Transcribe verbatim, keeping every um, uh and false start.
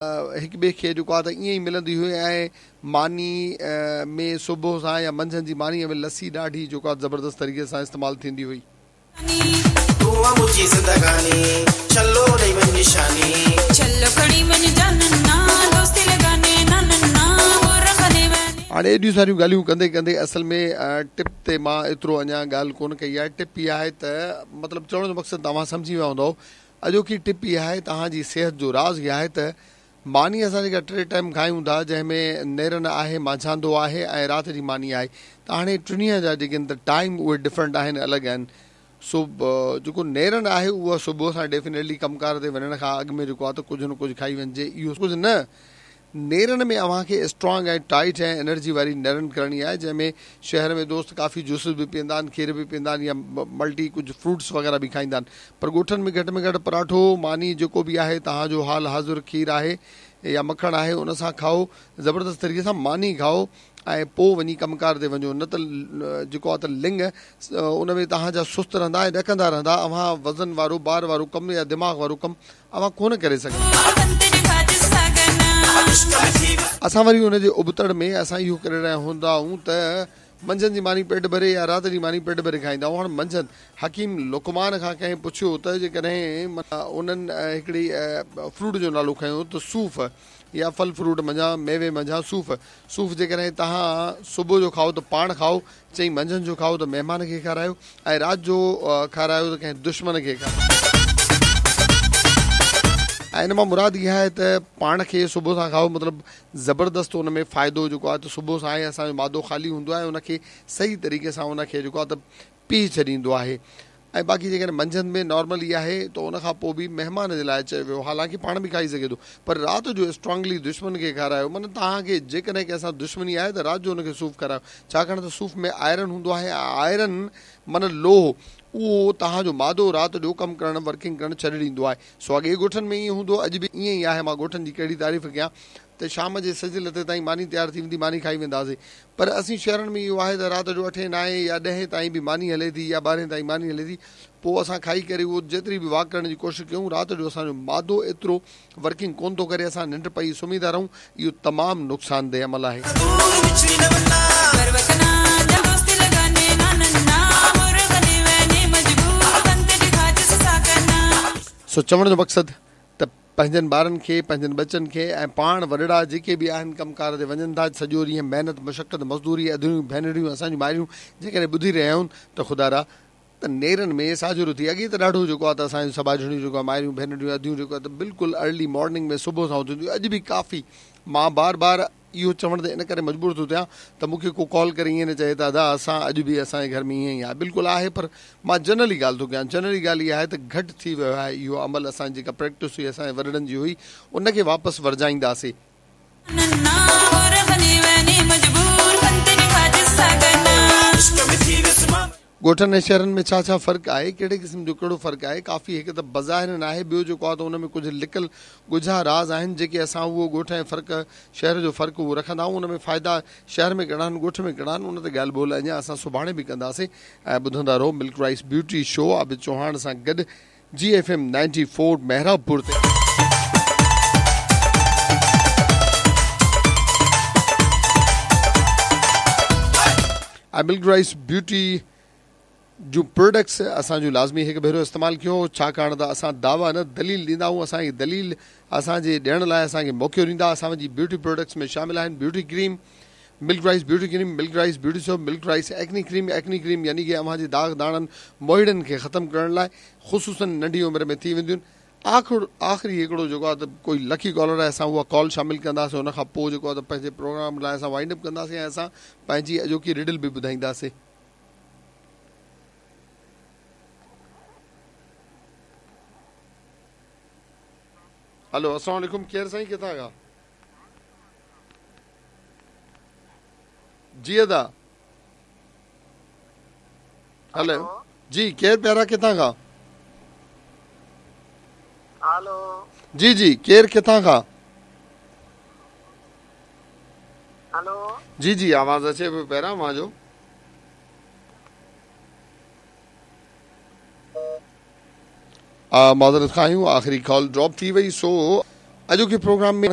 هڪ ٻئي کي جيڪو آهي ته ائين ئي ملندي هئي ۽ ماني ۾ صبح سان يا منجهند جي مانيء ۾ لسي ڏاڍي جيڪو آهي زبردست طريقي سان استعمال ٿيندي هئي. هاڻي ايڏيون ساريون ڳالهيون ڪندي ڪندي اصل ۾ ٽپ تي مان ايترو اڃا ڳالهه ڪونه ڪئي آهي. ٽپ اها آهي ته مطلب چوڻ جو مقصد توهان سمجهي ويا هوندؤ. اڄوڪي ٽپ اها آهي توهان جي صحت جو راز اها آهي ته ماني اسان جيڪا ٽي ٽائيم کايون ٿا جنهن ۾ نيرن آهي، مانجهاندو آهي ۽ رات جي ماني آهي ته هاڻي ٽنهي جا جيڪي آهن ته ٽائيم اهي ڊفرنٽ آهن الڳ آهن. سو جيڪو نيرن آهي اهو صبح سان ڊيفينيٽلي ڪم ڪار تي وڃڻ کان اڳ ۾ جيڪو آهي ته ڪجهه نه ڪجهه کائي وڃجي اهو ڪجهه نه نيرن ۾ اوهان کي اسٽرانگ ۽ ٽائيٽ ۽ انرجي واري نيرن ڪرڻي آهي جنهن ۾ شهر ۾ دوست ڪافي جوسز به پيئندا آهن کير به پيئندا آهن يا ملٽي ڪجهه فروٽس وغيره به کائيندا آهن پر ڳوٺن ۾ گهٽ ۾ گهٽ پراٺو ماني جيڪو به آهي توهان جو حال حاضر کير آهي يا مکڻ آهي ان سان کائو زبردست طريقي سان ماني کائو ۽ پوء وڃي ڪم ڪار تي وڃو نه ته جيڪو آهي ته لڱ ان ۾ توهان جا سست رهندا ۽ ڏڪندا رهندا اوهان وزن وارو بار وارو ڪم يا دماغ وارو ڪم اوهان ڪونه ڪري سگهندا. اسان وري ان جي ابتڙ ۾ اسان اهو ڪري رهيا هوندا آهيون ته منجهند جي ماني پيٽ ڀري يا رات جي ماني پيٽ ڀري کائيندا آهيون. هاڻ منجهند حڪيم لقمان کان ڪنهن پڇيو ته جيڪڏهن انهن هڪڙي فروٽ جو نالو کنيو ته صوف يا ڦل فروٽ منجهان ميوي منجهان صوف صوف جيڪڏهن توهان صبح جو کائو ته پاڻ کائو، چئي منجهند جو کائو ته مهمان کي کارايو ۽ رات جو کارايو ته ڪنهن دشمن کي کارايو. ۽ ان مان مراد اها آهي ته پاڻ کي صبح سان کائو مطلب زبردست ان ۾ فائدو جيڪو آهي ته صبح سان آهي اسان جو مادو خالي هوندو آهي ان کي صحيح طريقي سان ان کي جيڪو آهي ته پيهي ڇڏيندو آهي ۽ باقي جيڪڏهن منجهند ۾ نارمل ئي آهي ته ان کان پوء به مهمان جي لاء چيو ويو حالانڪه پاڻ به کائي سگهي ٿو پر رات جو اسٽرانگلي دشمن کي کارايو معنيٰ توهان کي جيڪڏهن ڪنهن سان دشمني آهي ته رات جو ان کي صوف کارايو ڇاڪاڻ ته صوف ۾ آئرن هوندو آهي ۽ آئرن معنيٰ لوهه اهو توهان جو مادو رات جو ڪم ڪرڻ ورڪنگ ڪرڻ ڇڏي ڏيندو آهي سو اڳي ڳوٺن ۾ ائين هوندو هو اڄ به ائين ئي آهي مان ڳوٺن جي ڪهڙي تعريف ڪيان ته شام جي سج لٿي تائين ماني تيار ٿي ويندي ماني کائي وينداسين پر اسين شهرن ۾ اهو آهي ته رات جو اٺين نائين يا ڏهين تائين به ماني هلي ٿي يا ٻارهين تائين ماني هلي ٿي پوء اسان کائي ڪري اهو جيتري به واڪ ڪرڻ جي ڪوشش ڪيون رات جو اسان جو مادو ايترو ورڪنگ ڪونه ٿو ڪري اسان ننڊ پئي سمهي ٿا رهون اهو تمام نقصانده عمل آهي. سو چوڻ جو مقصد ته پنهنجن ٻارن کي، پنهنجن ٻچن کي ۽ پاڻ وڏڙا جيڪي به آهن ڪم ڪار تي وڃن ٿا، سڄو ڏينهن محنت مشقت مزدوري ادڙيون ڀينريون اسان جون مائريون جيڪڏهن ٻڌي رهيا آهيون ته خدارا ته نيرن ۾ ساجهرو ٿي اڳي ته ڏاڍو جيڪو آهي ته اسان جون سٻاجهڙيون جيڪو آهي مائريون ڀينريون اديون جيڪو آهي ته بلڪل ارلي مارننگ ۾ صبح سان اٿنديون اڄ به ڪافي مان بار بار اهو چوڻ تي ان ڪري مجبور ٿو ٿيان ته مون کي ڪو ڪال ڪري ائين نه چئي ته ادا اسان اڄ به اسان جي گهر ۾ ائين ئي آهي بلڪل آهي پر مان جنرلي ڳالهه ٿو ڪيان جنرلي ڳالهه اها آهي ته گهٽ ٿي ويو آهي اهو عمل اسان جي جيڪا پريڪٽس هئي اسان جي وڏڙن جي هئي ان کي واپس ورجائينداسي. ڳوٺن ۽ شهرن ۾ ڇا ڇا فرق آهي، ڪهڙي قسم جو ڪهڙو فرق آهي، ڪافي هڪ ته بظاهر آهي ٻيو جيڪو آهي ته ان ۾ ڪجهه لڪل ڳجها راز آهن جيڪي اسان اهو ڳوٺ ۽ فرق شهر جو فرق اهو رکندا آهيون ان ۾ فائدا شهر ۾ ڪهڙا آهن ڳوٺ ۾ ڪهڙا آهن ان تي ڳالهه ٻولهه اڃا اسان سڀاڻي به ڪنداسين ۽ ٻڌندا رهو milk rice beauty show Abid Chohan سان گڏ جي F M ninety four Mehrabpur تي. ۽ ملڪ رائس بيوٽي جون پروڊڪٽس اسان جون لازمي هڪ ڀيرو استعمال ڪيو ڇاڪاڻ ته اسان دعويٰ نه دليل ڏيندا آهيون اسان کي دليل اسان جي ڏيڻ لاء اسان کي موقعو ڏيندا اسان جي بيوٽي پروڊڪٽس ۾ شامل آهن beauty cream milk rice beauty cream milk rice beauty soap milk rice acne cream acne cream يعني ڪي اوهان جي داغ داڻن موهيڙن کي ختم ڪرڻ لاء خصوصن ننڍي عمر ۾ ٿي وينديون آخر آخري هڪڙو جيڪو آهي ته ڪوئي لڪي ڪالر آهي اسان اها ڪال شامل ڪنداسين ان کان پوء جيڪو آهي ته پنهنجي پروگرام لاء اسان وائنڊ اپ ڪنداسين ۽ اسان پنهنجي اڄوڪي رڊل به ٻڌائينداسين. هلو السلام عليڪم ڪير سائين ڪٿان کان؟ جي ادا هلو جي ڪير پيارا ڪٿان کان؟ هلو جي جي ڪير ڪٿان کان؟ هلو جي جي آواز اچي پيو پيارا اوهان جو. معذرت خواهه آهيون آخري ڪال ڊراپ ٿي وئي سو اڄوڪي پروگرام ۾